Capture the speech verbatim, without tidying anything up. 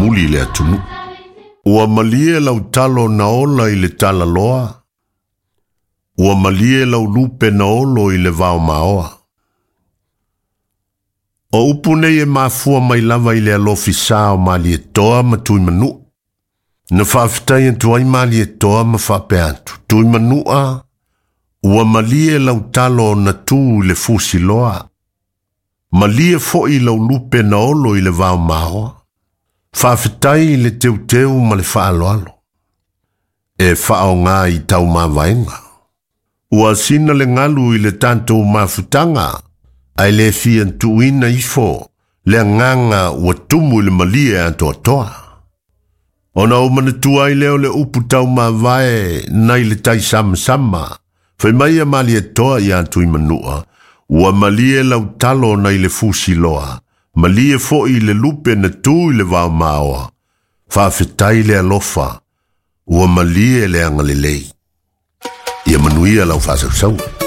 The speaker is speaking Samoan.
mulimuli i le atunuu. Ua malie lau talo na ola i le talaloa, ua malie lau lupe na olo i le vaomaoa. O upu nei e mafua mai lava i le alofisā o Malietoa ma Tuimanua. Na faafetai atu ai Malietoa ma faapea atu, Tuimanua, ua malie lau talo na tu i le fusiloa. Malie foi lau lupe na olo i le vaomaoa. Faafetai i le teuteu ma le faaaloalo. E faaaoga i taumavaega. Ua sina le galu i le tatou mafutaga, ae le fia tuuina ifo le agaga ua tumu i le malie atoatoa. Ona ou manatua ai lea o le upu taumavae nai le taisamasama, fai mai ia Malietoa ia Tuimanua, ua malie lau talo nai le fusiloa, malie foi le lupe na tu i le vaomaoa. Faafetai le alofa, ua malie le agalelei. Ia manuia lau faasausauga.